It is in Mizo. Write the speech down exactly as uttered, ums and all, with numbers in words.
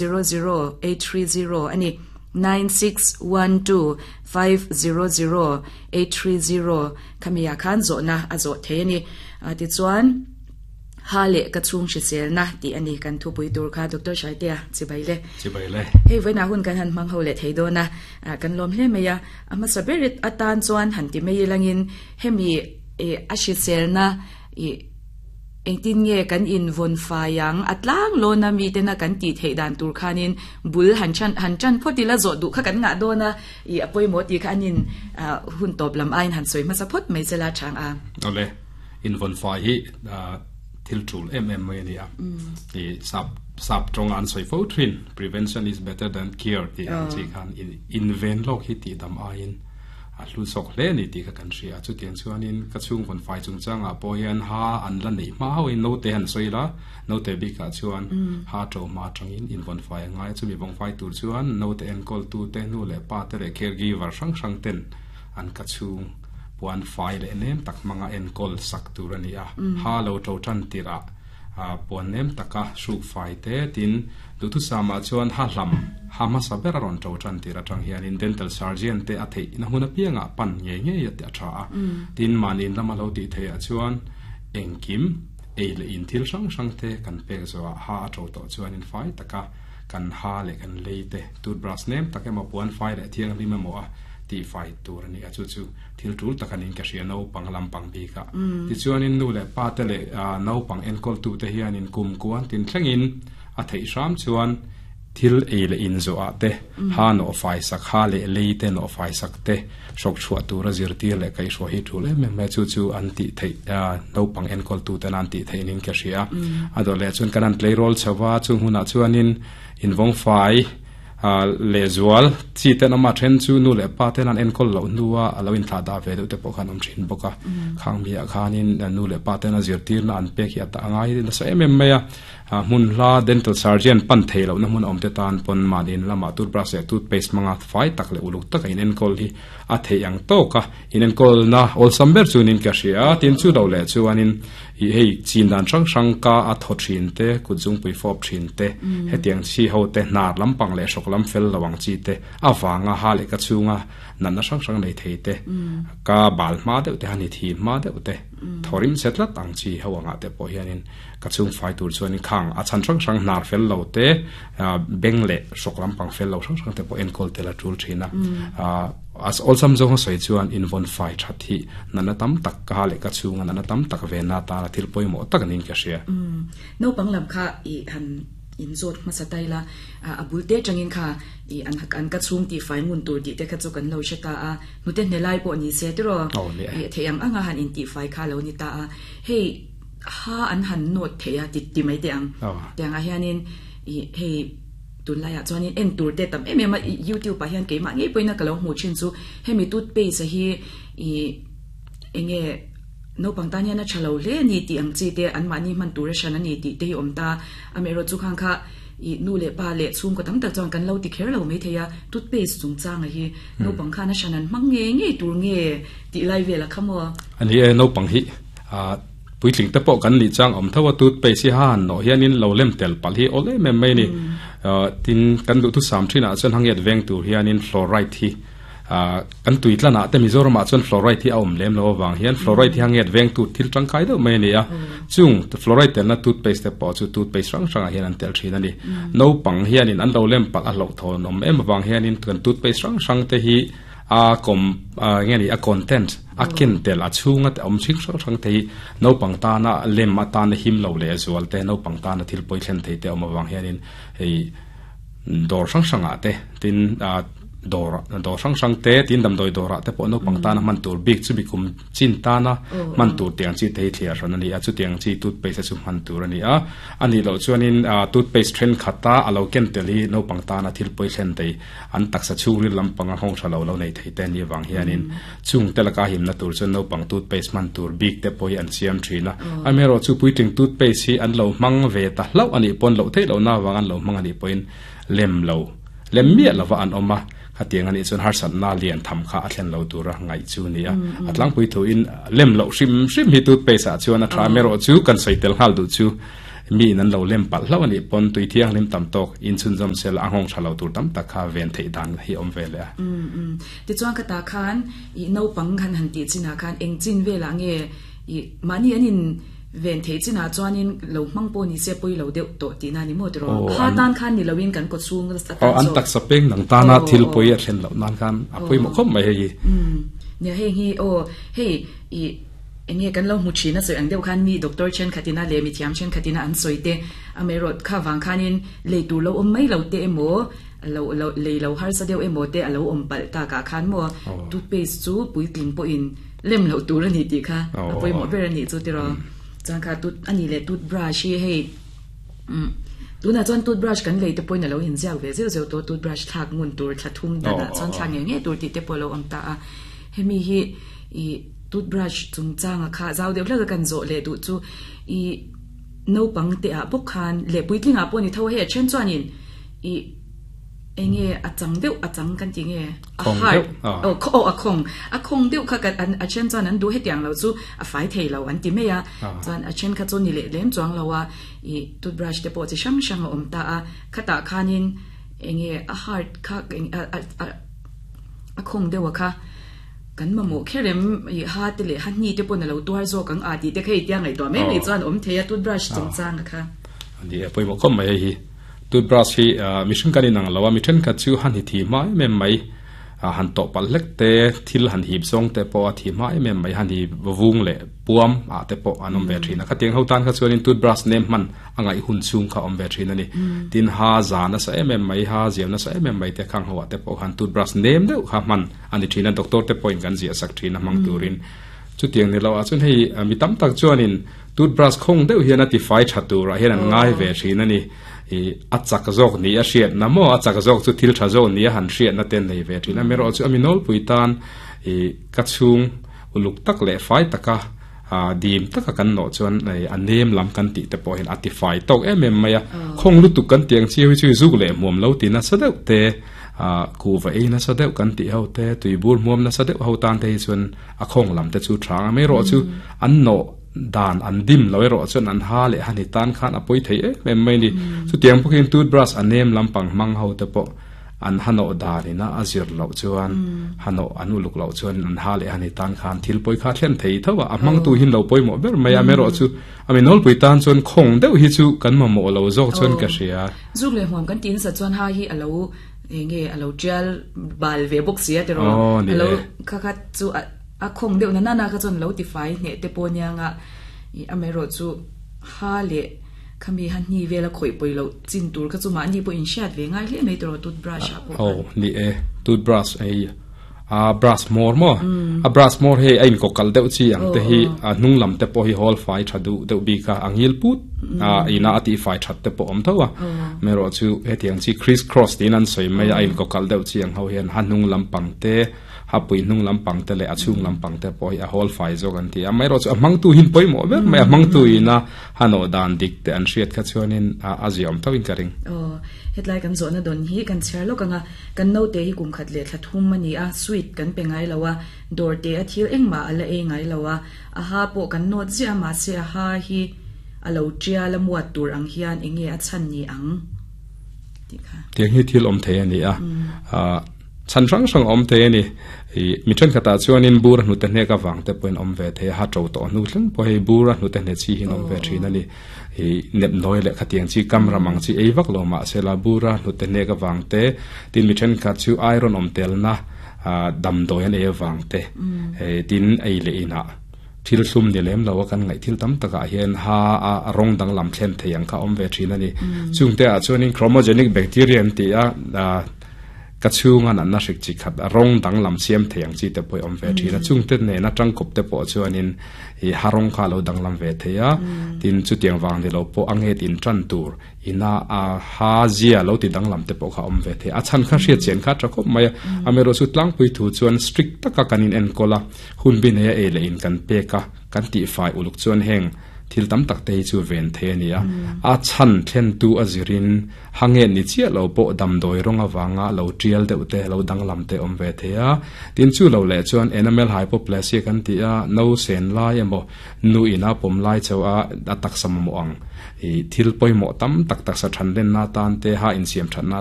zero zero eight three zero a ni. nine six one two five zero zero eight three zero khami ah khan zawhna a zawh thei a ni. Tichuan ha leh ka chhung hriselna tih a ni kan thupui tur kha Doctor Hraite-a chibai le. Chibai le. Hei vawiinah hun kan han hmang ho leh thei dawn a, kan lawm hle mai a. A hmasa ber atan chuan han ti mai ilangin hemi a hriselna ih Engtin nge kan invawn fai ang? A tlang lawna mitena kan tih theih dan tur khanin bul han chan han tan phawt ila zawh duh kha kan ngah dawn a, ih a pawimawh tih kha an in hun tawp lam aiin han sawi hmasa phawt mai chela chang a. Awle, invawn fai hi thil tul em em mai a ni a. Ih sap sap tawnga an sawi fo thin, prevention is better than cure tih ang chi khan inven lawk hi tih dam aiin A hlu zawk hle a ni tih kha kan hria. Chutiang chuanin ka chhungkawn fai chungchangah pawh hian ha an la neih hma hauhin naute han sawi la, naute bikah chuan ha to hma atangin invawn fai a ngai a, chumi vawng fai tur chuan naute enkawltute, nu leh pa te leh caregiver hrang hrang ten an ka chhung puan fai leh nem tak hmanga enkawl sak tur a ni a. Ha lo to tan tirh ah puan nem taka hruk fai te tin duhthusamah chuan ha hlam ha hmasa ber a rawn to tan tir atang hianin dental surgeon te a theih na hmun apiangah pan ngei ngei a tih a tha a. Tin mahni in lama lo tih theih ah chuan engkim ei leh in thil hrang hrang te kan pek zawhah ha a to tawh chuanin fai taka kan ha leh kan lei te toothbrush nem tak emaw puan fai leh thianghlim emaw a tih fai tur a ni a, chu chu thil tul tak a niin ka hria naupang lampang bik a. Tichuanin nu leh pa te leh naupang enkawltu te hianin kum kuan tin thlengin a theih hram chuan thil ei leh in zawhah te, ha nawh fai sak, ha leh lei te nawh fai sak te, hrawk chhuah tura zirtir leh kaihhruai hi tul em em mai a, chu chu an tih theih naupang enkawltu ten an tih theih niin ka hria. A dawh leh chuan kan han tleirawl chho va, chung hunah chuanin invawng fai Lehzual, chi ten ama then chu nu leh pa ten an enkawl loh hnua a lo inthlah dah ve deuh te pawh khan awm thin bawk a. Khang miah khanin nu leh pa ten a zirtirna an pek hi a tah ngai nasa em em mai a. Hmun hla dental surgeon pan thei lohna hmun a awm te tan pawn mahni in lamah toothbrush leh toothpaste hmanga fai tak leh uluk taka inenkawl hi a theih ang tawk a. Inenkawlna awlsam ber chu niin ka hria a, tin chu lo leh chuanin ih hei chin dan hrang hrang ka a thaw thin te, kut zungpui fawp thin te, hetiang chi ho te hnar lampang leh hrawk lam fel lo ang chi te avanga ha leh ka chhunga natna hrang hrang nei thei te, ka bal hma deuh te, hani thi hma deuh te, thaw rim che tlat ang chi ho angah te pawh hianin ka chhung fai tur chuanin khang a chhan hrang hrang hnar fel lo te, beng leh hrawk lampang fel lo hrang hrang te pawh enkawl tel a tul thin a. A awlsam zawng a sawi chuan invawn fai that hi natna tam tak ka ha leh ka chhunga natna tam tak venna atana thil pawimawh tak niin ka hria. Naupang lam kha i han inzawt hmasa ta ila, a bul te atangin kha i an an ka chhung tih fai ngun tur tih te kha chu kan lo hre ta a, hnute hne lai pawh ni se tiraw i theih ang anga han intih fai kha a lo ni ta a, hei ha an han nawt thei a ti ti mai teh ang. Tiangah hianin i hei. Tunlaiah chuanin en tur te tam em em a, youtube ah hian keimah ngei pawhin a ka lo hmuh thin chu hemi toothpaste a hi ih enge naupang tan hian a tha lo hle a ni tih ang chi te anmahni hman tur a hran a ni tih te hi awm ta. Amaherawh chu khang kha ih nu leh pa leh chhungkaw tam tak chuan kan lo ti kher lo maithei a, toothpaste chungchanga hi naupang khan a hran an hmang ngei ngei tur nge tih lai vel a kha maw? A ni e, naupang hi ah Puitling te pawh kan nih chang awm tho a, toothpaste hi ha han nawh hianin lo lem tel palh hi awl em em mai a ni. Tin, kan duhthusam thinah chuan hangiat veng tur hianin fluoride hi kan tui tlanah te Mizoramah chuan fluoride hi a awm lem lo avang hian fluoride hi hangiat veng tur thil tangkai deuh mai a ni a. Chung fluoride telna toothpaste te pawh chu toothpaste hrang hrangah hian an tel thin a ni. Naupang hianin an lo lem palh a hlauhthawn awm em avang hianin kan toothpaste hrang hrang te hi A kawm nge ni a content a ken tel a chhunga te awm hring hrang hrang te hi naupang tana lem atana him lo leh zual te naupang tana thil pawi thlen thei te awm avang hianin hei dawr hrang hrangah te tin ah dawr dawr hrang hrang te tin damdawi dawrah te pawh naupang tana hman tur bik chumi kum chin tana hman tur tiang chi te hi thliar hran a ni a chutiang chi toothpaste chu hman tur a ni a a nih loh chuanin ah toothpaste thenkhat a a lo ken tel hi naupang tana thil pawi thlen thei An taksa chhungril lampanga nghawng tha lo lo nei thei te anih avang hianin chung te laka himna tur chuan naupang toothpaste hman tur bik te pawh hi an siam thin a. Amaherawh chu puitling toothpaste hi an lo hmang ve ta hlauh anih pawn loh theih lohna avang an lo hmang anih pawhin lem lo lem miah lova an awm a, khatiang anih chuan harsatna lian tham kha a thlen lo tura ngaih chu a ni a. A tlangpui thuin lem loh hrim hrim hi toothpaste ah chuan a tha. Amaherawh chu kan sawi tel nghal duh chu Mi in an lo lem pal hlo ani pon tui thiang lim tam tok in chun jom sel a hong thalo tur tam tak kha ven thei dan hi om ve le um um ti chuan ka ta khan i no pang khan han ti china khan eng chin ve la nge i mani anin ven thei china chuanin lo mang po ni se poi lo deuh to ti na ni mo tro kha tan khan ni lowin kan ko chung sa ta an tak sapeng nang ta na thil poi a thlen lo nan khan a poi mo khom mai hei um nia hei hi o hei i enge kan lo mu china soi ang deuh khan mi doctor chen khatina le mi thiam chen khatina an soite ame rot kha wang khanin le tu lo om mai lo te emo lo lo le lo har sa deuh emo te alo om pal ta ka khan mo toothpaste chu puitling po in lem lo tur ani ti kha apoi mo ber ani chu ti ro chang kha tooth ani le toothbrush hi hei um tuna chuan toothbrush kan lei te point alo in ziak ve zeu zeu to toothbrush thak ngun tur thlathum da da chuan thla nge nge tur ti te polo om ta a hemi hi i toothbrush chung changa kha zau deuh hlaka kan zo le du chu i no pang te a bok khan le puitling a pawh ni tho he chen chuan in i enge achang deuh achang kan ti nge a har o kho a khong a khong deuh kha kan an a chen chuan an du hetiang lo chu a fai thei lo an ti meia chuan a chen kha chu ni le lem chuang lo a i toothbrush te pawh chi hrang hrang a awm ta a khata khanin enge a hard kha a khong deuh a kha kan mamo kherem i ha te le ha ni te pon lo tuar zo kang a ti te khei tiang ngai to me me chuan om theia toothbrush chung chang kha ani poi mo khom mai hi toothbrush hi mission kan inang lawa mi then kha chu han hi thi mai mem mai han to pal lek te thil han hip song te po a thi mai mem mai han hi vung le puam a te po anom ve thina kha tiang ho tan kha chuan in toothbrush nem man angai hun chung kha om ve thina ni tin ha za na sa em em mai ha ziam na sa em em mai te khang hawa te po han toothbrush nem deuh kha man ani thina doctor te point kan zia sak thina mang turin chu tiang ni lo a chun hei mi tam tak chuan in toothbrush khong deuh hian a ti fai thatura hian an ngai ve thina ni i achak zok ni a hriat na mo achak zok chu thil tha zo ni a han hriat na ten nei ve thina mero chu aminol puitan i ka chung uluk tak le fai taka a dim taka kan no chuan nei anem lam kan ti te pawh hin ati fai tok em em maya khong lu tu kan tiang chi hui chu zuk le muam lo ti na sa deuh te a ku va e na sa deuh kan ti ho te tuibur muam na sa deuh ho tan te chuan a khong lam te chu thang me ro chu an no dan an dim loi ro chon an ha le hani tan khan apoi thei e mem mai ni chu tiang pawhin toothbrush anem lampang mang ho te po an hano darina azir lo chuan hano anu luk lo chuan an ha le hani tan khan thil poi kha thlen thei thawa amang tu hin lo poi mo ber mai a me ro chu ami nol pui tan chuan khong deuh hi chu kan ma mo lo zok chuan ka hria zuk le huam kan tin sa chuan ha hi alo nge alo trial bal ve box sia te ro alo kha kha chu a khong deuh na na kha chon lo ti fai ne te po nya nga i amero chu ha le khami han ni vela khoi poi lo chin tur kha chu ma ni po in shat ve ngai le mai tro toothbrush a po oh ni e toothbrush ei a brush more mo a brush more he ain ko kal deuh chi ang te hi a hnung lam te po hi hol fai thadu deuh bi ka angil put a ina ati fai that te po om thawa mero chu he tiang chi criss cross tin an soi mai ain ko kal deuh chi ang ho hian han hnung lam pang te ha pui hnung lam pang te le a chung lam pang te po hi a hol fai zo kan ti a mai ro chu amang tu hin poi mo ber mai amang tu ina hano dan dik te an hriat kha chuanin a aziom tawin ka ring oh hetlai kan zo na don hi kan chher lo kanga kan no te hi kum khat le thlathum mani a sweet kan pe ngai lawa dor te a thil engma ala e ngai lawa a ha po kan not zia ma se a ha hi alo chia la muat tur ang hian enge a chan ni ang ti kha tiang hi thil om the ani a a chan rang rang om te ni i mi then khata chuanin bur hnu te hne ka wang te point om ve the ha tro to nu thleng po hei bur hnu te hne chi hin om ve thin ani i nep noi le khatiang chi kamra mang chi ei vak lo ma sela bura hnu te hne ka wang te tin mi then kha chu iron om tel na dam doi an e wang te e tin ei le ina thil hlum ni lem lo kan ngai thil tam taka hian ha a rong dang lam thlen theiang kha om ve thin ani chungte a chuanin chromogenic bacteria ti a ka chunga na na hrik chi khat rong dang lam siam theiang chi te poi om ve thina chungte ne na tang kop te po chuanin i harong kha lo dang lam ve theia tin chu tiang wang ni lo po ange tin tran tur ina a ha zia lo ti dang lam te po kha om ve the a chan kha hriat chen kha trakop mai amero chu tlang pui thu chuan strict taka kanin en kola hun bin he e le in kan pe ka kan ti fai uluk chuan heng Thil tam tak te hi chu ven the ani a. A chan thlen tu a zirin hange ni chia lo po dam doi ronga wanga lo trial deuh te lo danglam te om ve the a. Tin chu lo le chuan enamel hypoplasia kan ti a, no sen lai emo nu ina pom lai cheu a atak sam mo ang i thil poimo tam tak tak sa than len na tan te ha in siam than na.